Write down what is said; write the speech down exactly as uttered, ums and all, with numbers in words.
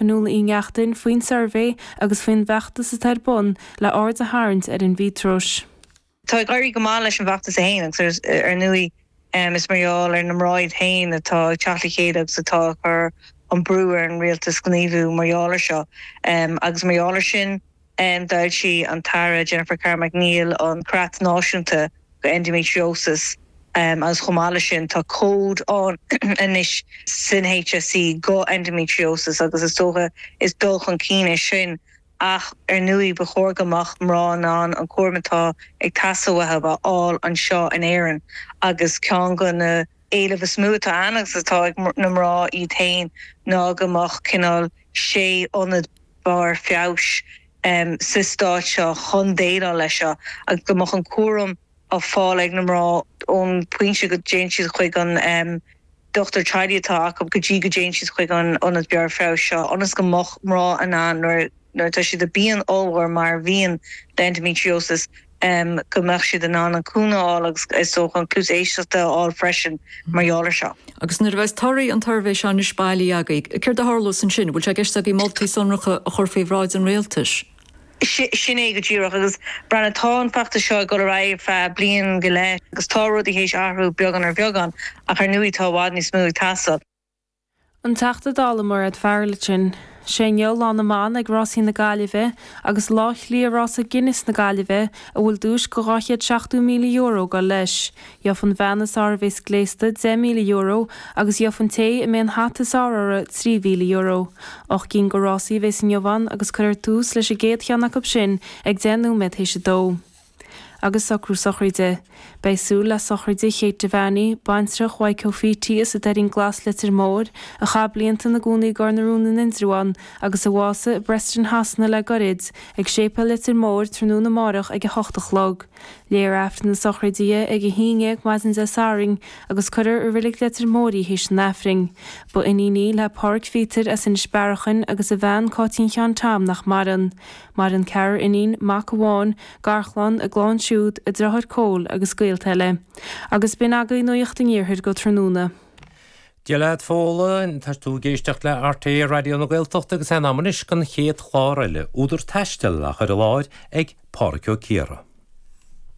Fionnuala Uí Neachtain faoin suirbhé agus faoin bhfeachtas atá ar bun le aird a tharraingt ar an mhíotrós. Tá ag éirí go maith leis an bhfeachtas é féin agus ar ndóigh is mar gheall ar na mná iad féin atá ag teacht le chéile agus atá ag cur an brú ar an rialtas gníomhú mar gheall air seo. Agus mar gheall air sin d'fhoilsigh an tAire Jennifer Carroll MacNeill an Creat Náisiúnta go Endometriosis agus chomh maith leis sin tá cód ann anois san HSE go endometriosis agus is dócha is dul chun cinn é sin ach ar ndóigh ba chóir go mbeadh mná in ann an cúram atá ag teastáil uathu a fháil anseo in Éirinn agus ceann de na héilimh is mó atá ann agus atá ag na mná iad féin ná go mbeadh cineál sé ionad barr feabhais sa stát seo chun déileáil leis seo agus go mbeadh an cúram á fáil ag na mná ón bpointe go dtéann siad chuig an dochtúir teaghlaigh atá acu go dtí go dtéann siad chuig an ionad barr feabhais seo ionas go mbeadh mná in ann nuair nuair atá siad i bpian ollmhór mar a bhíonn le endometriosis go mbeadh siad in ann an cúnamh a fháil agus is dócha an cluas éisteachta a fháil freisin mar gheall air seo. Agus nuair a bheas torthaí an tsuirbhé seo anois bailí agaibh, céard a tharlós ansin? Bhfuil sé i gceist agaibh moltaí sonracha a chur faoi bhráid an rialtais? Sin é go díreach agus breathnaigh, tá an feachtas seo ag dul ar aghaidh ar feadh bliain go leith agus tá rudaí théis athrú beagán ar bheagán ach ar ndóigh tá i bhfad níos mó ag teastáil. An Teachta Dála Mairéad Farrell ansin. Sé inniu Lá na mBan ag Rásaí na Gaillimhe agus Lá Chliath Rása Guinness na Gaillimhe a bhfuil duais go dhá chéad seachtó míle euro ag dul leis. Gheobhaidh an bhean is fearr a bhéas gléasta deich míle euro agus gheobhaidh an té a mbeidh an hata is fearr uirthi trí mhíle euro. Ocht gcinn de rásaí a bhéas inniu ann agus cuirfear tús leis an gcéad cheann acu sin ag deich nóiméad théis a dó. Agus socrú sochraide. Beidh súil le sochraide Kate Devaney, baintreach Mhaidhc Ó Fíti as an Doirín Glas Leitir Móir, a chaith blianta ina gcónaí i gCor na Rún in Indreabhán agus a bhásaigh i bPreston Shasana le goirid, ag Séipéal Leitir Móir tráthnóna amárach ag a hocht a chlog. Léifear Aifreann na sochraide di ag a haon déag maidin Dé Sathairn agus cuirfear i Reilig Leitir Móir í théis an Aifrinn. Ba iníon í le Pádhraic Phíotair as Inis Bearachain agus a bhean Cáitín Sheáin Tom nach maireann. Maireann ceathrar iníon, mac amháin, garchlann, a gclann siúd, a deartháir Cóil agus gaolta eile. Agus b'in agaibh Nuacht an Iarthair go tráthnóna. Dia leat Fódhla, tá tú ag éisteacht le RTÉ Raidió na Gaeltachta agus é in am anois don chéad chlár eile, Údar Taistil á chur i láthair ag Pádhraic Ó Ciardha.